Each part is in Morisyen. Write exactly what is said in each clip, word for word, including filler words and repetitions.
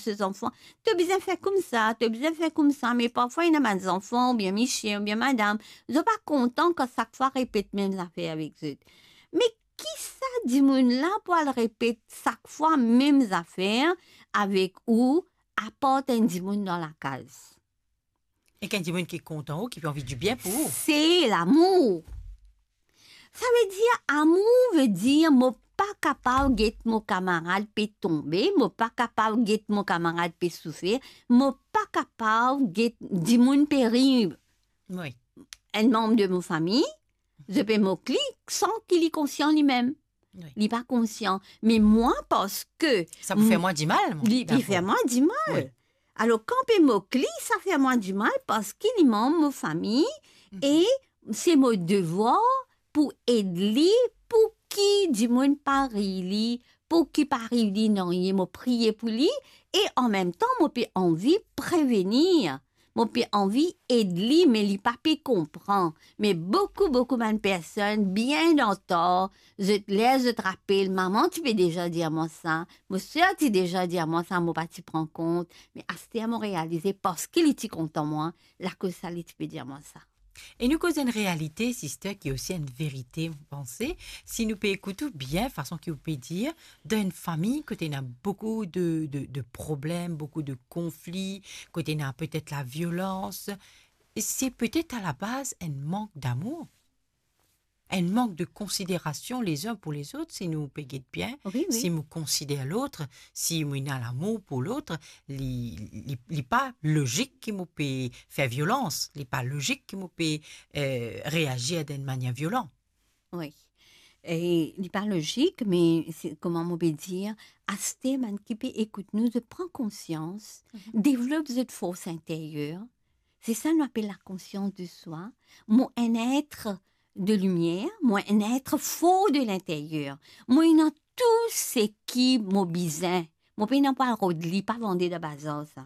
se zanfan, to bizin fer koumsa, to bizin fer koumsa, me parfwa ena bann zanfan, oubien misie, oubien madam, zot pa kontan kan sak fwa repet mem zafer avek zot. Me ki sa dimoun la pou al repet sak fwa mem zafer avek ou, apar enn dimoun dan lakaz? Ek enn dimoun ki kontan ou, ki pe anvi dibien pou ou. Se lamour. Savedir, amour vedir mo pa kapav get mo kamarad pe tonbe, mo pa kapav get mo kamarad pe soufer, mo pa kapav get dimoun pe rir. Wi. Enn manb de mo fami, zot pe mok li san ki li konsian limem. Wi. Li pa konsian. Me mwa, parski sa pou fer mwa dimal, mwa. Li, li fer mwa dimal. Wi. Alor, kan pe mok li, sa fer mwa dimal parski li manb mo fami, mhm, e se mo devwar pou ed li, pou ki dimoun pa rir li, pou ki pa ariv li nanye, mo priye pou li, e anmemtan, mo pe anvi prevenir, mo pe anvi ed li, me li pa pe konpran. Me boukou, boukou bann personn, bien antar, zot, ler zot rapel, mama ti pe deza dir mwa sa, mo ser ti deza dir mwa sa, mo pa ti pran kont, me aster mo realize parski li ti kontan mwa, lakoz sa li ti pe dir mwa sa. E nou koz enn realite, sister, ki osi enn verite, mo panse, si nou pe ekout ou bien, fason ki ou pe dir, dan enn fami kot ena boukou de, de, de problem, boukou de konfli, kot ena petet laviolans, se petet a la baz enn mank damour, enn mank de konsiderasion lezin pou lezot, si nou pe get bien, wi, wi, si mo konsider lot, si mo ena lamour pou lot, li, li, li pa lozik ki mo pe fer violans, li pa lozik ki mo pe, eh, reazir dan enn manier violan. Wi. E li pa lozik, me se, kouma mo pe dir, aster bann ki pe ekout nou, zot pran konsians, mhm, devlop zot fors interyer. Se sa nou apel lakonsians de swa. Mo enn et de limier, mo enn et for de linteryer. Mo ena tou seki mo bizin. Mo pena pou al rod li, pa vande dan bazar sa.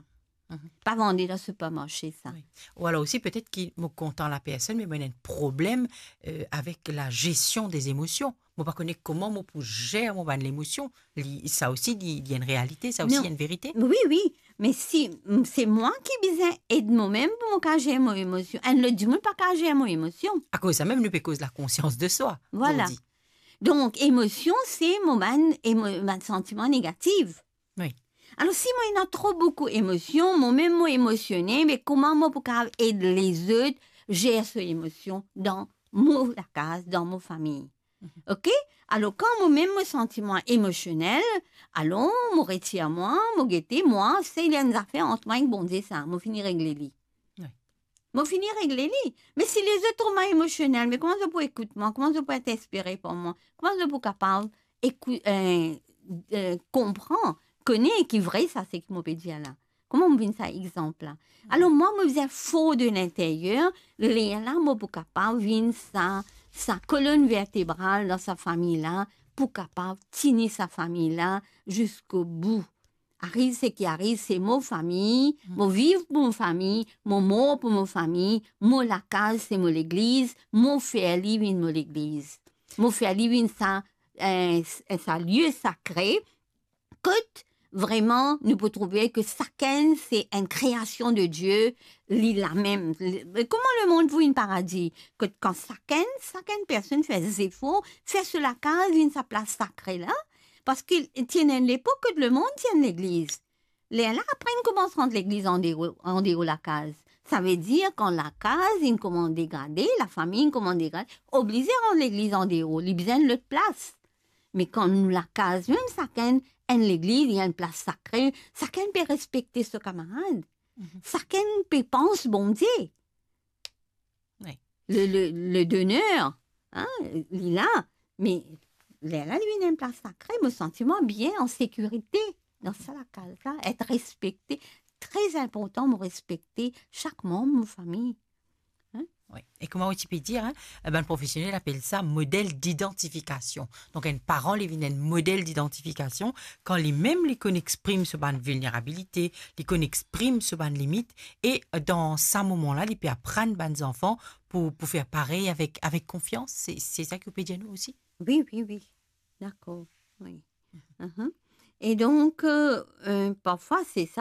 Mhm. Pa vande dan sipermarse sa. Wi. Ou alor osi, petet ki mo kontan lapersonn, me mo ena enn problem, eh, avek lazesion de emosion. Mo pa kone kouma mo pou zer mo bann lemosion. Li, sa osi, li, li enn realite, sa osi, non, enn verite. Wi, wi. Me si, m, se mwa ki bizin ed momem pou mo kapav zer mo emosion. Enn lot dimoun pa kapav zer mo emosion. Akoz sa mem, nou pe koz lakonsians de swa, vwala, zordi. Donk, emosion, se mo bann emo-, bann santiman negatif. Wi. Alor, si mo ena tro boukou emosion, momem mo emosione, me kouma mo pou kapav ed lezot zer so emosion dan mo lakaz, dan mo fami? Mhm. Oke? Alor, kan momem mo santi mwa emosionel, alor, mo retir mwa, mo gete, mwa, se li enn zafer ant mwa ek Bondie sa, mo fini regle li. Wi. Mo fini regle li. Me si lezot trouv mwa emosionel, me kouma zot pou ekout mwa? Kouma zot pou et inspire par mwa? Kouma zot pou kapav ekou-, eh, eh, konpran, kone ki vre sa, seki mo pe dir la? Kouma mo vinn sa exanp la? Alor, mwa, mo bizin for de linteryer, lerla mo pou kapav vinn sa, sa kolonn vertebral dan sa fami la, pou kapav tini sa fami la ziska bou. Ariv seki ariv, se mo fami, mm, mo viv pou mo fami, mo mor pou mo fami, mo lakaz se mo legliz, mo fer li vinn mo legliz. Mo fer li vinn sa, eh, sa lie sakre, kot vreman nou pou trouve ki sakenn se enn kreasion de Die, li lamem. Kouma lemond pou vinn paradi? Kot kan sakenn, sakenn personn fer zefor, fer so lakaz vinn sa plas sakre la, parski ti ena enn lepok kot lemond ti enn legliz. Lerla apre inn koumans rant legliz andeor, andeor lakaz. Savedir kan lakaz inn koumans degrade, lafami inn koumans degrade, oblize rant legliz andeor, li bizin lot plas. Me kan nou lakaz mem, sakenn enn legliz, li enn plas sakre, sakenn pe respekte so kamarad. Mhm. Sakenn pe pans Bondie. Wi. Le, le, le doner, hein, li la, me lerla li vinn enn plas sakre, mo santi mwa bien, an sekirite dan sa lakaz la, et respekte. Tre inportan, mo respekte sak manb mo fami. Hein? Wi. E kouma ou ti pe dir, hein, bann profesionel apel sa model didantifikasion. Donk, enn paran, li vinn enn model didantifikasion, kan limem li konn exprim so bann vilnerabilite, li konn exprim so bann limit, e dan sa moman la, li pe aprann bann zanfan pou, pou fer parey avek, avek konfians. Se, se sa ki ou pe dir nou osi? Wi, wi, wi. Dakor, wi. Mhm. Et donc, euh, euh, parfois, c'est ça.